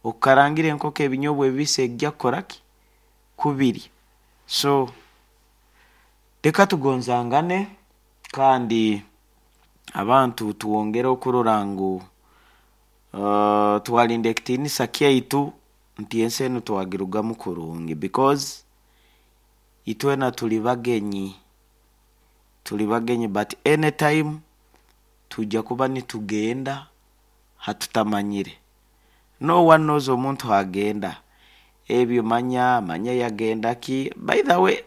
Okukarangira enkoko ebinyobwa ebibisi ejja kukora ki? Kubirya. So leka tugonzangane kandi abantu twongere okurora ngu twarinda ekitiinisa kyaitu nti ensi enu twagirugamu kurungi because itwena turi bagenyi, turi bagenyi but anytime twija kuba nitugenda hatutamanyire. No one knows omuntu hagenda, ebyo manya, manya yagenda ki, by the way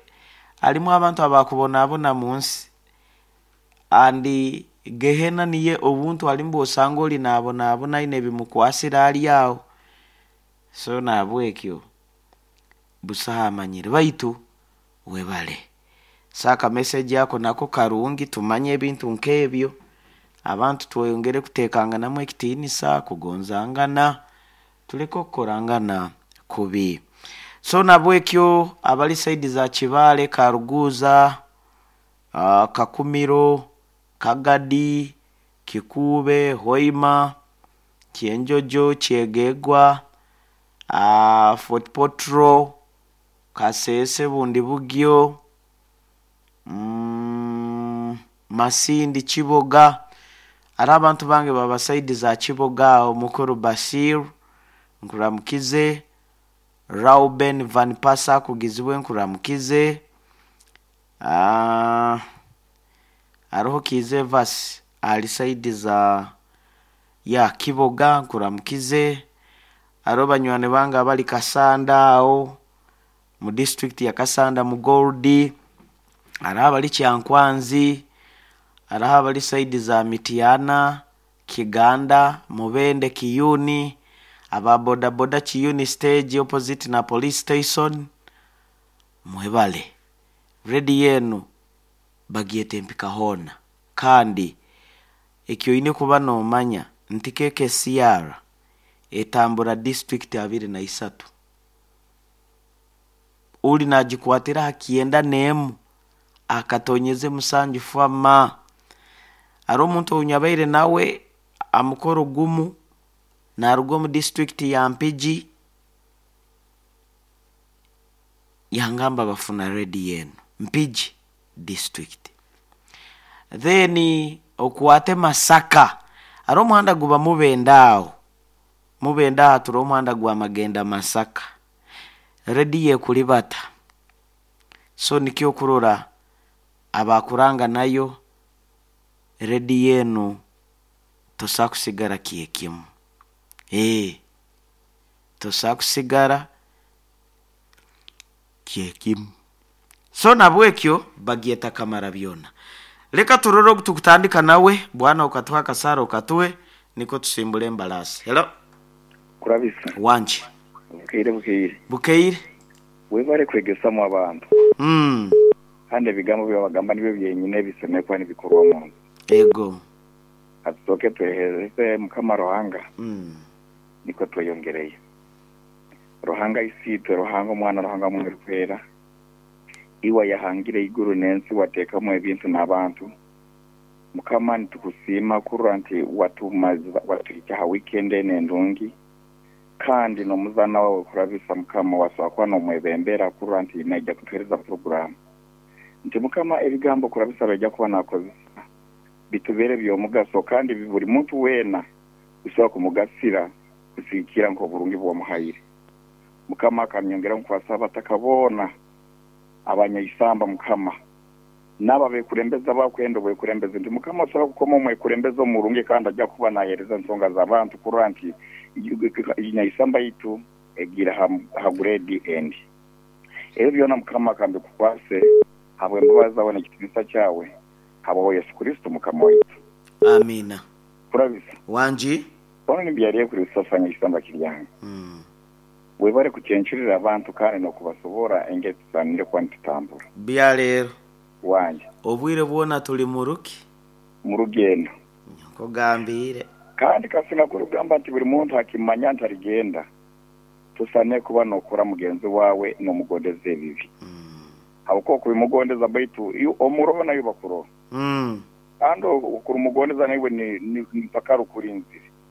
harimu abantu abakubonabona munsi and gehena niyo obuntu harimu bwosanga ori nabonabona aine ebimukwasire ari aho. So nahabwekyo busaho amanyire baitu webare. So aka message ako nako karungi tumanye ebintu nk'ebyo, abantu tweyongere kutekanganamu ekitiinisa, kugonzangana, tuleke okukorangana kubi. So nahabwekyo abari side za Kibaale, Karuguuza, Kakumiro, Kagadi, Kikuube, Hoima, Kyenjojo, Kyegegwa, Fort Portal, Kasese, Bundibugyo, Masindi, Kiboga, hariho abantu bange baba side za Kiboga aho, Mukuru Bashir nkuramukize, Rauben Van Pasa akugizibwe nkuramukize, hariho Kiiza Evas ari side za ya Kiboga nkuramukize, hariho banywani bange abari Kasanda aho mu disiturikiti ya Kasanda mu Gold, hariho abari Kyankwanzi, hariho abari side za Mityana, Kiganda, Mubende, Kiyuni, aba bodaboda Kiyuni stage opposite na police station, mwebale. Rediyo enu bagyeta empika hoona kandi eki oine kuba noomanya nti KKCR etambura disiturikiti abiri na isatu. Ori nagikwatira aha kyenda n'emu akatonyeze musanju fama. Hariho omuntu ou nyabaire nawe aha mukoro gumu naruga omu disiturikiti ya Mpigi yangamba bafuna rediyo enu Mpigi disiturikiti. Then okwate Masaka, hariho omuhanda guba Mubende aho, Mubende aho turiho omuhanda gwa Magenda Masaka, rediyo ekuribata. So nikyo okurora abakuranga nayo rediyo enu tosobola kusigara kyekimu, tosobola kusigara kyekimu. So nahabwekyo bagyeta kamara byona. Leka turore ogu tukutandika nawe, bwana okatuha akasaara okatuhe nikwo tusimbure embaraasi. Hello. Kurabisa. Wangi. Bukeire bukeire. Bukeire. Webare kwegesamu abantu. Kandi ebigambo byobagamba nibyo byenyine ebisemeriire kuba nibikorwa omu nsi. Ego. Katusooke twehereze Mukama Ruhanga nikwo tweyongereyo. Ruhanga Isiitwe, Ruhanga Omwana, Ruhanga Mwoyo Orikwera, iwe ayahangire eiguru n'ensi wateekamu ebintu n'abantu, Mukama nitukusiima kurora nti watumaza watuhikya aha weekend enu endungi kandi n'omuzaana waawe kurabisa Mukama wasobora kuba n'omwebembera kurora nti naija kutuhereza puroguraamu. Nti Mukama ebigambo kurabisa baija kuba nakozesa bitubere by'omugaso kandi buri muntu weena bisobora kumugasira kusigikiira nk'oburungi obu wamuhaire. Mukama akanyongera nkwasa abataka boona abanyaisamba Mukama n'abo abekurembeza abakwenda obwekurembezi nti Mukama osobora kukoma omwekurembezi omurungi kandi aja kuba nahereza ensonga z'abantu kurora nti nyaisamba yaitu egiire ha grade endi. Ebyo byona Mukama kambikukwase habw'embabazi zawe n'ekitinisa kyawe habwawe Yesu Kristo Mukama waitu. Amiina. Kurabisa. Wangi. Boona nibyariyo kuri busasa nyaisamba kiryange. Webare kucencurira abantu kandi n'okubasobora engeri tusaanire kuba nitutambura. Bya leero. Wangi. Obwire bwona turi mu ruki? Mu rugendo. Nkugambiire. Kandi kasinga kurugamba nti buri muntu akimanya nti arigenda, tusaanire kuba n'okora mugenzi waawe n'omugondeza ebibi. Habwokuba okubimugondeza baitu omuroho naiwe bakuroho. Kandi okurumugondeza naiwe ni mpaka rukurinzire.